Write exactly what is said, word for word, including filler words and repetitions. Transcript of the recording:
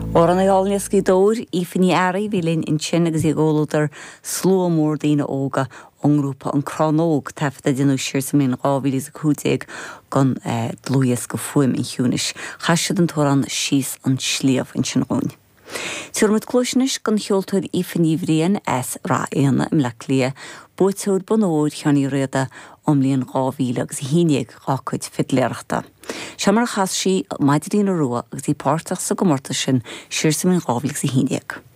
Amhránaí álainn as Gaoth Dobhair, Aoife Ní Fhearraigh bhí linn ansin agus í i gcomhluadar slua mór daoine óga ón ngrúpa An Crannóg taifead a déanadh siar sa mbliain dhá mhíle is a cúig déag don dlúthdhiosca Fuaim an Chiúnais. Chas siad an t-amhrán Síos an Sliabh ansin dhúinn. Tabharfaimid cluas anois don cheoltóir Aoife Ní Bhriain as Rath Éanna i mBleá Cliath, buaiteoir bonn óir Sheáin Uí Riada ón mbliain dhá mhíle agus a haon déag dá cuid fidléireachta. Seo mar a chas sí Maidríona Rua agus í páirteach sa gcomórtas sin siar sa mbliain dhá mhíle agus a haon déag.